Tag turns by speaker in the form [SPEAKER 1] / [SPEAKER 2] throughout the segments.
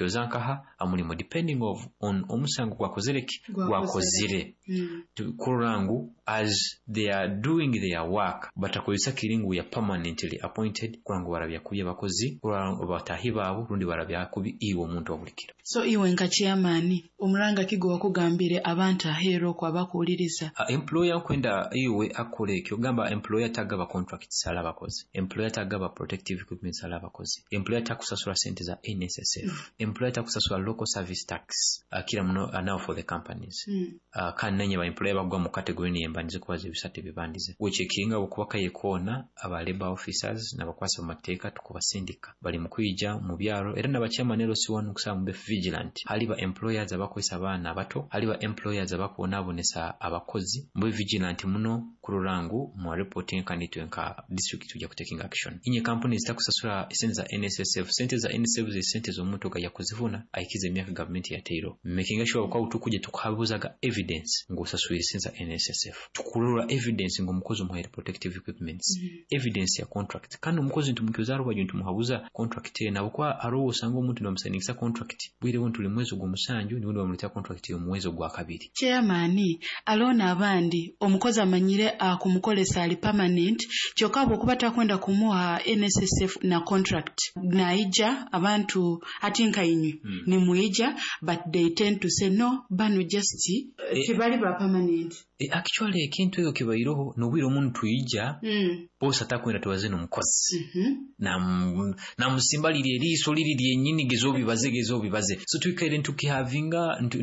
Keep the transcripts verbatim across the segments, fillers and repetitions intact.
[SPEAKER 1] Oza nkaha amulimo, depending of on omusango gwakozere ki, gwakozire,
[SPEAKER 2] Mm.
[SPEAKER 1] kurora ngu as they are doing their work batakozesa kiri ngu ya permanently appointed, kurora ngu barabya kubi abakozi, kurora ngu batahi baabo, rundi barabya kubi iwe omuntu obulikiro.
[SPEAKER 2] So iwe nka chairman, omuranga ki gwe wakugambire abantu aheeru okwo abakuwuliriza?
[SPEAKER 1] Uh, employer nkwenda iwe akole ekyo, gamba employer tagaba contracts ala abakozi, employer tagaba protective equipment ala abakozi, employer takusasula sente za N S S F, employer takusasula local service tax, akira muno uh, now for the companies.
[SPEAKER 2] Mm.
[SPEAKER 1] uh, kandi nanye ba employer bagwa mu category niyembandize kubaza ebisatu ebibandize wechekinga okuba kaye koona aba labor officers n'abakwasa mu mateeka tukubasindika bali mu kwija mu byalo, era n'aba chairman L C one nkusaba mube vigilant. Hali ba employers abakozesa abaana abato, hali ba employers abakubonaabonesa abakozi, mube vigilant muno kurora ngu mwa reporting, kandi itwe nka district tujja kutaking action. Inye companies zitakusasula sente za N S S F, sente za N S S F ze sente z'omuntu gajya kuzifuna ayikiza emyaka gavumenti yateiro, making sure kwa utukuje tukuhabuzaga evidence ng'osaswire sente za N S S F, tukurora evidence ng'omukozi omuhaire protective equipments,
[SPEAKER 2] Mm.
[SPEAKER 1] evidence ya contract, kandi omukozi ntumukyoza rubaju ntumuhabuza contract ye nabo, kwa arowo osanga omuntu nibamusayiningisa contract bwire buno tuli mwezi ogw'omusanju, nibundi bamuleetera contract y'omuwezi ogwa kabiri.
[SPEAKER 2] Chairman, alona abandi omukozi amanyire akumukolesa ali permanent, kyokka bw'okuba takwenda kumuha N S S F na contract, naija abantu ati nka inywe
[SPEAKER 1] Mm.
[SPEAKER 2] nimwija, but they tend to say, "No, bano just uh,
[SPEAKER 1] Eh.
[SPEAKER 2] tibali ba permanent."
[SPEAKER 1] E, actually ekintu ekyo kibaireho n'obwire omuntu twija
[SPEAKER 2] mm.
[SPEAKER 1] bosi atakwenda tubaze n'omukozi,
[SPEAKER 2] mm -hmm.
[SPEAKER 1] Nam- namusimba liri eriiso liri lyennyini, geza obibaze, geza obibaze. So twikaire ntukihavinga ntu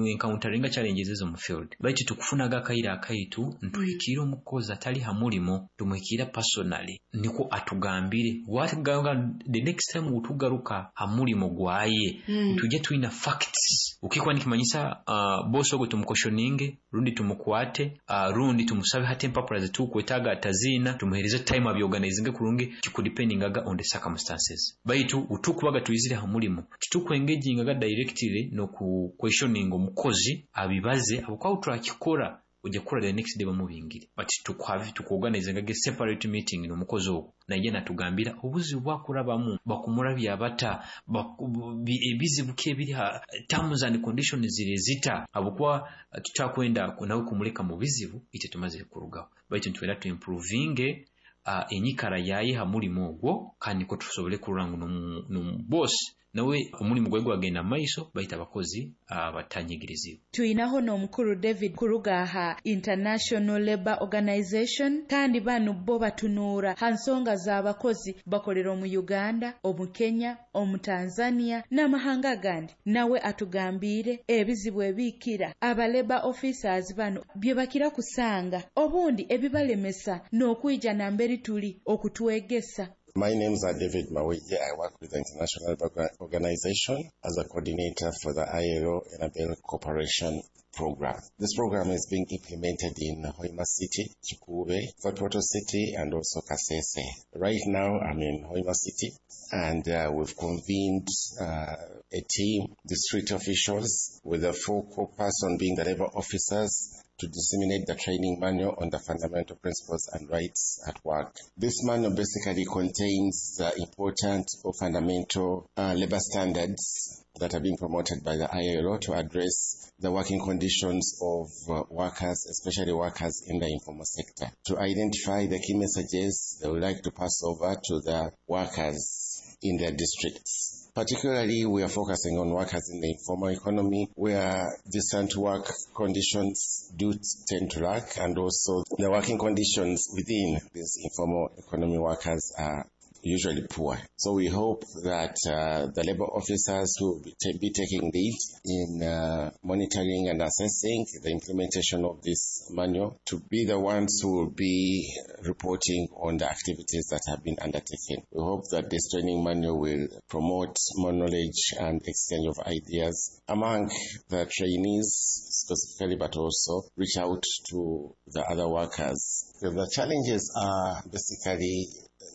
[SPEAKER 1] encounteringa challenges ezo mu field, baitu tukufunaga akaire akaitu ntuhikiire omukozi atali ha mulimo, tumuhikiira personally niko atugambire watugamba. The next time utugaruka ha mulimo gwaye,
[SPEAKER 2] Mm.
[SPEAKER 1] tujye twina facts ukikuba nikimanyisa uh, bosi ogwo tumucautioninge, rundi tumukwate, uh, rundi tumusabe hati empapura zetukwetaaga ataziina, tumuhereze time abyorganizinge kurungi, kikudependingaga on the circumstances. Baitu utukubaga twizire ha mulimo titukwengagingaga directly noku questioning omukozi abibaze, habwokuba turakikora ojja kukora the next day bamubingire, but tukwavi tukuorganizingaga separate meeting n'omukozi ogwo, naye natugambira obuzibu bwakurabamu, bakumurabya bata, baku- bi- ebizibu ki ebiri ha terms and conditions ziri zita, habwokuba tutakwenda nawe kumuleka mu bizibu ite tumaze kurugaho, baitu nitwenda tuimprovinge uh, enyikara yaye ha mulimo ogwo, kandi niko tusobole kurora ngu nomu- nomu boss nawe omulimu gwe gwagenda mu maiso, baitu abakozi uh, batanyigirizibwa.
[SPEAKER 3] Tuyinaho n'omukuru David kuruga aha International Labour Organization, kandi bano bo batunuura ha nsonga z'abakozi, bakolera omu Uganda, omu Kenya, omu Tanzania n'amahanga agandi. Nawe atugambiire ebizibu ebiikira aba labour officers bano bye bakira kusanga, obundi ebibalemesa n'okwija namberi tuli okutwegesa.
[SPEAKER 4] My name is David Maweje. I work with the International Labour Organization as a coordinator for the I L O Enabel Cooperation Program. This program is being implemented in Hoima City, Kikuube, Fort Portal City, and also Kasese. Right now, I'm in Hoima City, and uh, we've convened uh, a team, district officials, with the focal person being the labor officers, to disseminate the training manual on the fundamental principles and rights at work. This manual basically contains the important or fundamental uh, labor standards that are being promoted by the I L O to address the working conditions of uh, workers, especially workers in the informal sector, to identify the key messages they would like to pass over to the workers in their districts. Particularly, we are focusing on workers in the informal economy, where decent work conditions do tend to lack, and also the working conditions within these informal economy workers are usually poor. So we hope that uh, the labor officers who will be, ta- be taking lead in uh, monitoring and assessing the implementation of this manual to be the ones who will be reporting on the activities that have been undertaken. We hope that this training manual will promote more knowledge and exchange of ideas among the trainees specifically, but also reach out to the other workers. The challenges are basically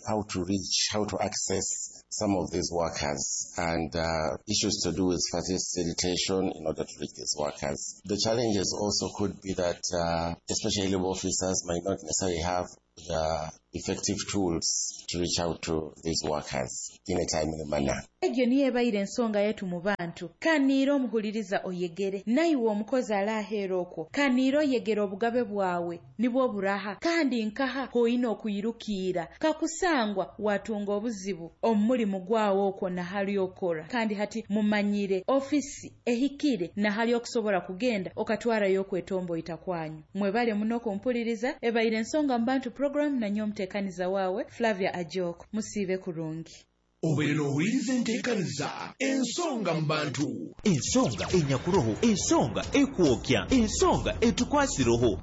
[SPEAKER 4] how to reach, how to access some of these workers and uh, issues to do with facilitation in order to reach these workers. The challenges also could be that uh, especially labor officers might not necessarily have the effective tools to reach out to these workers in a timely manner.
[SPEAKER 3] Egyo niyo ebaire ensonga yetu mu bantu. Kaniira omuhuliriza oyegere, naiwe omukozi alaheera okwo, kaniira oyegere obugabe bwawe nibwo buraha, kandi nkaha hoine okuyirukiira kakusangwa watunga obuzibu omu mulimu gwawe okwo nahali okora. Kandi hati mumanyire ofisi ehikire nahali okusobola kugenda okatwarayo okwetomboita kwanyu. Mwebale muno kumpuliriza. Ebaire ensonga mu bantu program nanyo omuteekaniza waawe Flavia Ajok. Musiibe kurungi.
[SPEAKER 5] Obeere n'owuliriza enteekaniza ensonga mu bantu.
[SPEAKER 6] Ensonga enyakuroho, ensonga ekwokya, ensonga etukwasiroho.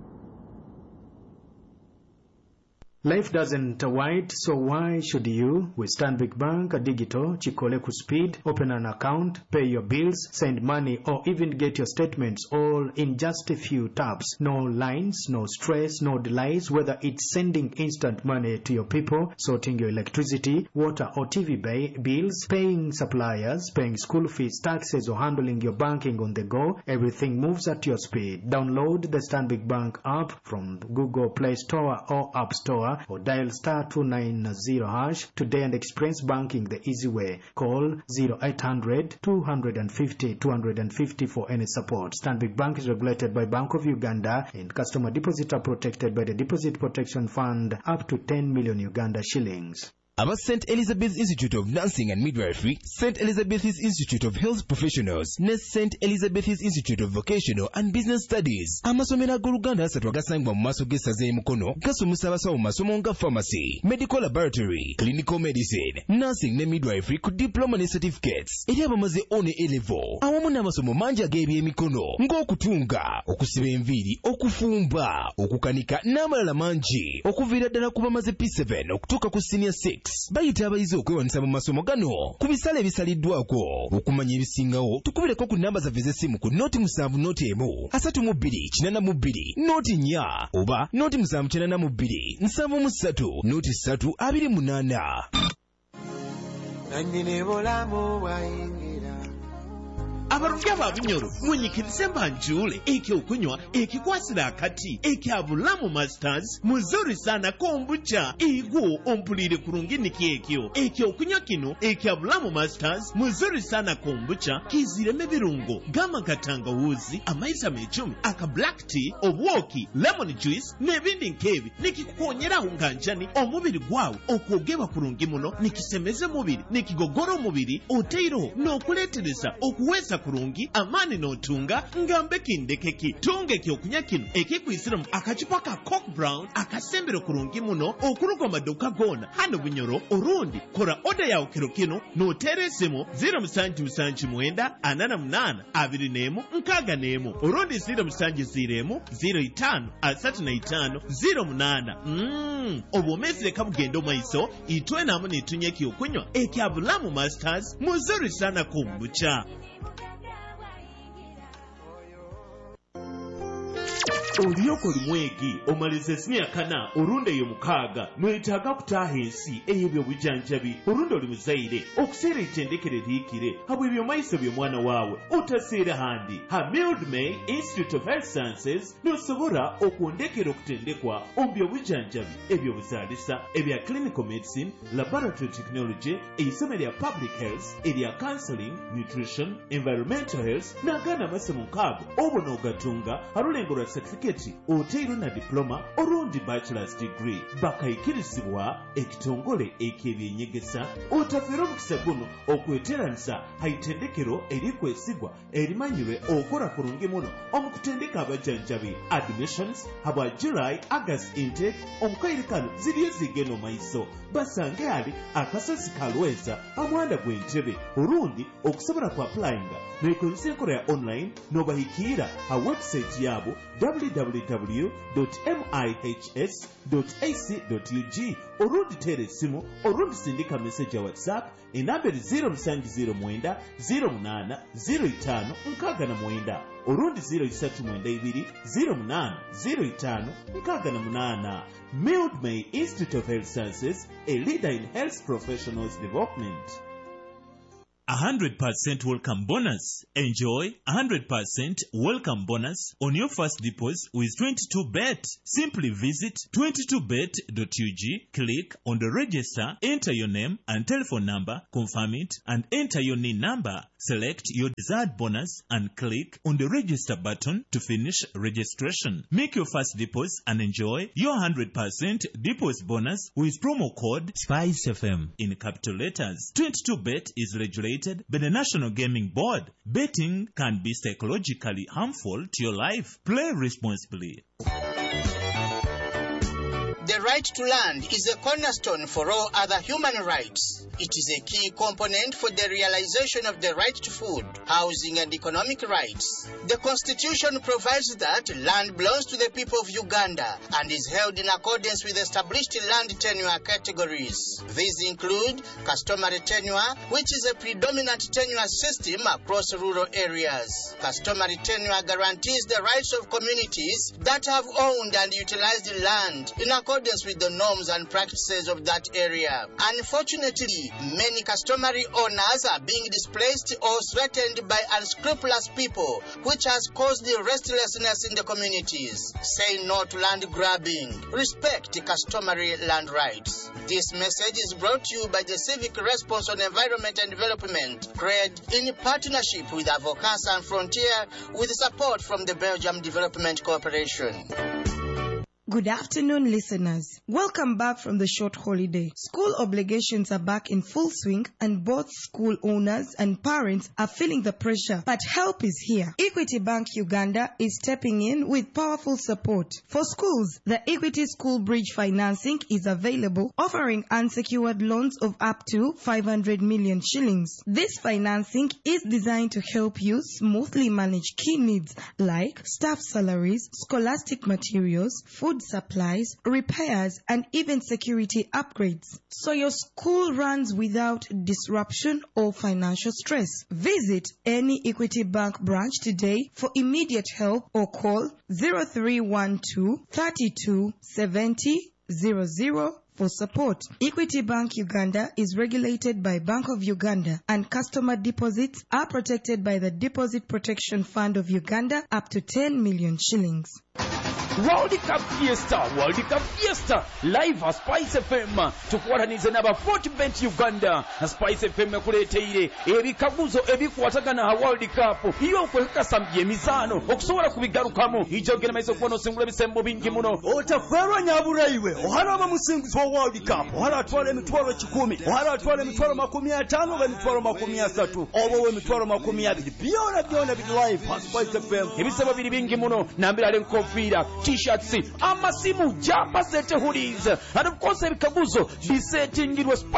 [SPEAKER 7] Life doesn't wait, so why should you? With Stanbic Bank Digital, Chikole ku speed, open an account, pay your bills, send money, or even get your statements all in just a few taps. No lines, no stress, no delays, whether it's sending instant money to your people, sorting your electricity, water or T V bills, paying suppliers, paying school fees, taxes, or handling your banking on the go, everything moves at your speed. Download the Stanbic Bank app from Google Play Store or App Store, or dial star two nine zero hash today and experience banking the easy way. Call zero eight hundred two hundred fifty two hundred fifty for any support. Stanbic Bank is regulated by Bank of Uganda and customer deposits are protected by the Deposit Protection Fund up to ten million Uganda shillings.
[SPEAKER 8] Aba Saint Elizabeth Institute of Nursing and Midwifery, Saint Elizabeth's Institute of Health Professionals ne Saint Elizabeth's Institute of Vocational and Business Studies. Amasomero ag'Oluganda asatu agasangibwa mu maaso g'essaza e Mukono gasomesa abasawo mu masomo nga pharmacy, medical laboratory, clinical medicine, nursing ne midwifery ku diploma ne certificates eri abamaze O ne A level, awamu n'amasomo mangi ag'ebyemikono ng'okutunga, okusiba enviiri, okufumba, okukanika n'amalala mangi, okuviira ddala ku bamaze P seven okutuuka ku senior six. Bayita abayizi okwewandiisa mu masomo gano ku bisale ebisaliddwako. Okumanya ebisingawo tukubireko ku namba zaffe ez'essimu ku noti musanvu noti emu asatu mu bbiri kinaana mu bbiri noti nnya oba noti musanvu kinaana mu bbiri nsanvu mu ssatu noti ssatu abiri munaana.
[SPEAKER 9] Nannyini bulamu bwayingira.
[SPEAKER 5] Abalungi ababinyoro mwenyikirize mbanjule ekyokunywa ekikwasira akati ekya Bulamu Masters muzuri sana kombucha igwo ompulire kurungi niki ekyo ekyokunywa kino ekya Bulamu Masters muzuri sana kombucha kizireme birungo gama katangawuzi amaizi amecumi aka black tea obwoki lemon juice n'ebindi nkebi nikikukonyeraho nganjani omubiri gwawe okwogeba kurungi muno nikisemeze mubiri nikigogora omubiri oteiroho n'okuleetereza okuweza kurungi amani n'otunga ngambe kindekeki tunga ekyokunywa kino ekikwisiramu akacupa ka Coke Brown akasembero kurungi muno okuruga maduka gona hano Bunyoro orundi kora oda yawe kiro kino n'oteera esimu zero musanju musanju mwenda anana munana abiri n'emu nkaaga n'emu orundi zero musanju zero emu zero itaano asatu na itaano zero munaana. Mm, obwomeezi leka bugenda omaiso itwe naamu nitunywa ekyokunywa ekya Bulamu Masters muzuri sana kombucha. Oliyoko limwegi omalize siniya kana orunde eyo mukaaga noyetaaga kutaaha ensi ey'ebyobujanjabi orundi oli muzaire okuseera etendekere liikire habw'ebyomaiso by'omwana waawe otaseera handi ha Mildmay Institute of Health Sciences nosobora okwondekera okutendekwa omu byobujanjabi ebyobuzaalisa ebya clinical medicine, laboratory technology, eisomo erya public health, erya counseling, nutrition, environmental health n'agaana amasomo nkaago obwo n'ogatunga harulengo lwa certificate oteiro na diploma orundi bachelor's degree bakaikirizibwa ekitongole eky'ebyenyegesa. Otafera omukisa guno okweteranisa haitendekero erikwesigwa erimanyirwe okora kurungi muno omu kutendeka abajanjabi. Admissions habwa July August intake omukaire kano ziriyo zigenda omaiso basange ali akasozi kalweza amuhanda gw'entebe orundi okusobola ku applyinga nekozesa enkola ya online nobahikiira ha website yabo w w w dot m i h s dot a c dot u g orundi tera esimu orundi sindika message ya WhatsApp enamba eri zero musanju zero mwenda zero munaana zero itaano nkaaga na mwenda orundi zero isatu mwenda ibiri zero munaana zero itaano nkaaga na munaana. Mildmay Institute of Health Sciences, a leader in health professionals development. A hundred percent welcome bonus. Enjoy a hundred percent welcome bonus on your first deposit with twenty-two bet. Simply visit twenty-two bet dot U G, click on the register, enter your name and telephone number, confirm it, and enter your N I N number. Select your desired bonus and click on the register button to finish registration. Make your first deposit and enjoy your hundred percent deposit bonus with promo code Spice F M in capital letters. twenty-two bet is regulated by the National Gaming Board. Betting can be psychologically harmful to your life. Play responsibly.
[SPEAKER 10] The right to land is a cornerstone for all other human rights. It is a key component for the realization of the right to food, housing and economic rights. The Constitution provides that land belongs to the people of Uganda and is held in accordance with established land tenure categories. These include customary tenure, which is a predominant tenure system across rural areas. Customary tenure guarantees the rights of communities that have owned and utilized land in accordance with the norms and practices of that area. Unfortunately, many customary owners are being displaced or threatened by unscrupulous people, which has caused the restlessness in the communities. Say no to land grabbing. Respect customary land rights. This message is brought to you by the Civic Response on Environment and Development, CRED, in partnership with Avocats Sans Frontières, with support from the Belgium Development Cooperation.
[SPEAKER 11] Good afternoon, listeners. Welcome back from the short holiday. School obligations are back in full swing and both school owners and parents are feeling the pressure. But help is here. Equity Bank Uganda is stepping in with powerful support. For schools, the Equity School Bridge financing is available, offering unsecured loans of up to five hundred million shillings. This financing is designed to help you smoothly manage key needs like staff salaries, scholastic materials, food supplies, repairs, and even security upgrades, so your school runs without disruption or financial stress. Visit any Equity Bank branch today for immediate help or call zero three one two, thirty-two, seventy, zero zero for support. Equity Bank Uganda is regulated by Bank of Uganda and customer deposits are protected by the Deposit Protection Fund of Uganda up to ten million shillings.
[SPEAKER 12] World Cup Fiesta, World Cup Fiesta, live at Spice F M. Tukwatanize n'aba Fortbet Uganda. Spice F M ekuleeteire ebikaguzo ebikwatagana ha World Cup. Iyo okwekakasa by'emizaano okusobola kubigarukamu. Ijja ogenda maiso okuba n'osingula ebisembo bingi muno.
[SPEAKER 13] Otaferwa nyabura iwe. Oharaba musinguzi wa World Cup. Ohara atwala emitwalo kikumi. Ohara atwala emitwalo makumi ataano oba emitwalo makumi asatu. Oba emitwalo makumi abiri. Byona byona biri live at Spice F M.
[SPEAKER 12] Ebisembo biri bingi muno. Nambira ali enkofiira, t-shirts, amasimu, jamba sete hoodies, and of course ebikaguzo bisetingirwe.